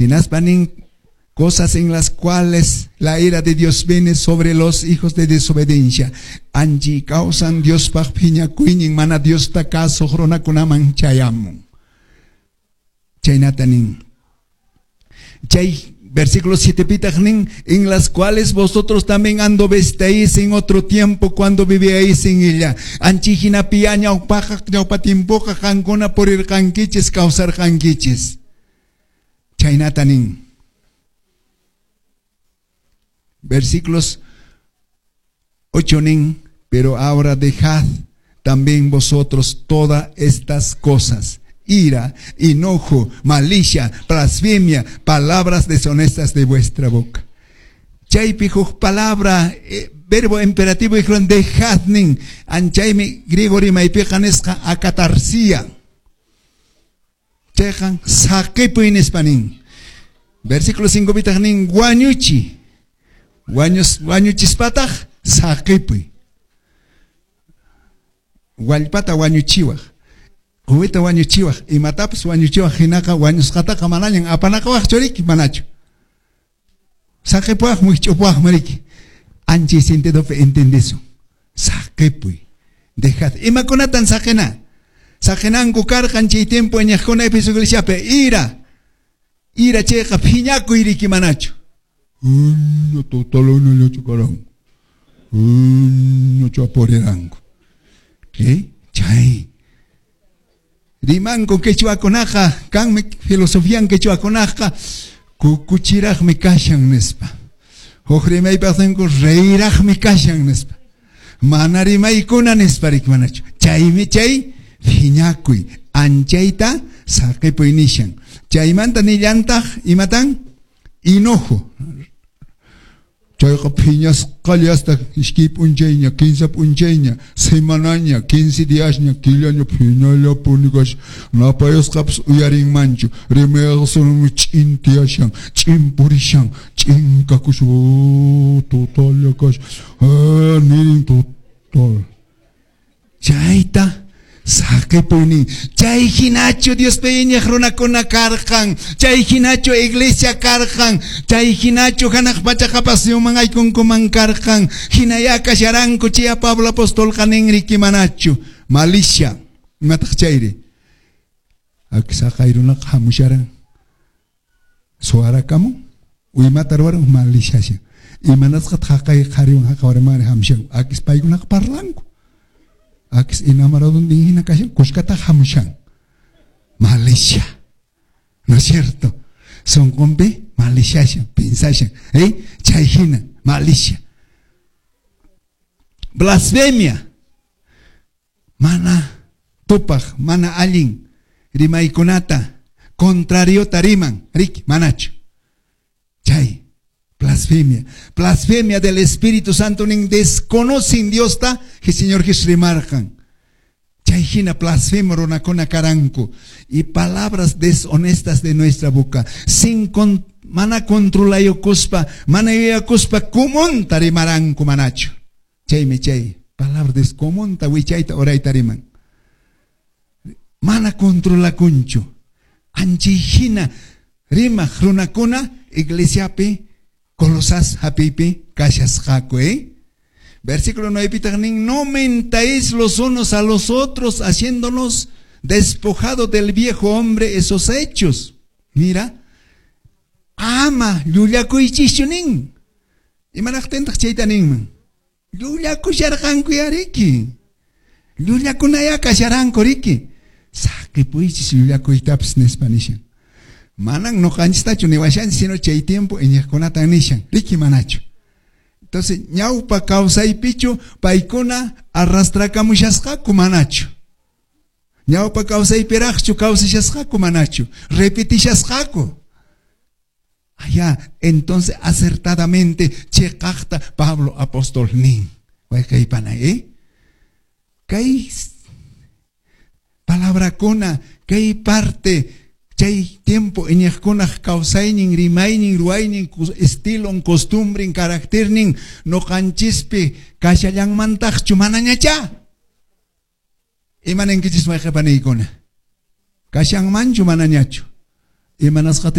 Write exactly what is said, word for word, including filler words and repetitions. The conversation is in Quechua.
Hinaspa nin cosas en las cuales la ira de Dios viene sobre los hijos de desobediencia. Anchi kawsan Diospaq phiñakuynin mana Diosta kasuq runakunaman chayamun. Chaynata nin. Chay versículo siete pitaq nin, en las cuales vosotros también anduvisteis en otro tiempo cuando vivíais en ella. Anchi hinapiya ñawpaqa ñawpa tiempoqa qankuna purirqankichis kawsarqankichis. Chaynata nin. Versículos ocho nin, pero ahora dejad también vosotros todas estas cosas: ira, enojo, malicia, blasfemia, palabras deshonestas de vuestra boca. Chaypi huk palabra, eh, verbo imperativo dijeron dejad nin, anchaymi griego rimaypiqa nisqa akatarsia. Chayqa saqipuy nispa nin. Versículo cinco pitaq nin wañuchi. Wañus, wañuchispataq saqipuy. Wallpata wañuchiwaq. Quwita wañuchiwaq, imatapas wañuchiwaq hinaqa wañusqataqa manañan apanaqawaqchu riki manachu. Saqipuwaq wikch'upuwaqmi riki. Anchay sentidopi entendisun. Saqipuy. Dejad. Imakunatan saqina? Saqinanku karqan chay tiempo iñiqkuna Efeso iglesiapi ira. Ira chayqa phiñakuy riki manachu. Totaluna karanku. Chapuriranku. ¿Qué? Chay. Rimanku quechuakunaqa, kanmi filosofian quechuakunaqa, kukuchiraqmi kashan nispa. Huk rimaypaq ninku reyraqmi kashan nispa. Mana rimaykuna nispa riki manachu. Chaymi chay phiñakuy, anchayta saqipuy nishan. Chaymanta nillantaq imatan? Enojo. Chayqa phiñasqalla hasta iskay p'unchayña, kinsa p'unchayña, semanaña, quince diasña, killaña phiñallapuni kashan. Napayasqapas uyarinmanchu, rimayasqanmi ch'in tiyashan, ch'in purishan, ch'in kakushan, oh, totalla kashan, ah, nin total. Chayta saqipuy nin. Chay hinachu Diospi iñiq runakuna karqan, chay hinachu iglesia karqan, chay hinachu hanaq pacha qhapaqsuyuman aykunkuman karqan, hinaya kasharanku chay Pablo apostolqa nin riki manachu. Malicia, imataq chayri? Aki saqay runaqa hamusharan. Suwarakamun, uymata ruwaran maliciashan. Imanasqataq haqay qhariwan haqa warmari hamushan. Akis paykunaqa parlanku. Akis enamorado din hina kashan, kuskata hamushan. Malicia. ¿No es cierto? Sonqonpi maliciashan, pensashan, ¿eh? Chay hina, malicia. Blasfemia. Mana tupaq, mana allin rimaykunata, contrariota riman, riki, manachu. Chay, blasfemia. Blasfemia del Espíritu Santo nin desconocen Diosta, que Señor Jesús rimarqan. Chay hina blasfemo runakuna karanku. Y palabras deshonestas de nuestra boca. Sin con, mana controlayukuspa, mana yuyakuspa kumunta rimaranku manachu. Chaymi chay, palabras descomunta wichayta urayta riman. Mana controlakunchu. Anchay hina rimaq runakuna iglesiapi Colosas hapipi kashasqaku, ¿eh? Versículo nueve pitaq nin, no mentáis los unos a los otros, haciéndonos despojado del viejo hombre esos hechos. Mira, ama llullakuychischu nin. Imanaqtintaq chayta ninman? Llullakusharqanku ya riki. Llullakunaya kasharanku riki. Saqipuychis llullakuytapas nispa nishan. Manan noqanchistachu niwashanchis, sino chay tiempo iñiqkunatan nishan. Riki manachu. Entonces, ñawpa kawsaypichu paykuna arrastrakamushasqaku manachu. Ñawpa kawsaypiraqchu kawsashasqaku manachu. Repetishasqaku. Allá, entonces acertadamente chiqaqta Pablo apóstol nin. Wayqaypana, ¿eh? Kay palabrakuna, kay parte chay tiempo iñiqkunaq kawsaynin, rimaynin, ruwaynin, estilon, costumbrin, carácternin noqanchispi kashallanmantaqchu manañacha. Imaninkichis wayqipaniykuna? Kashanmanchu manañachu? Imanasqata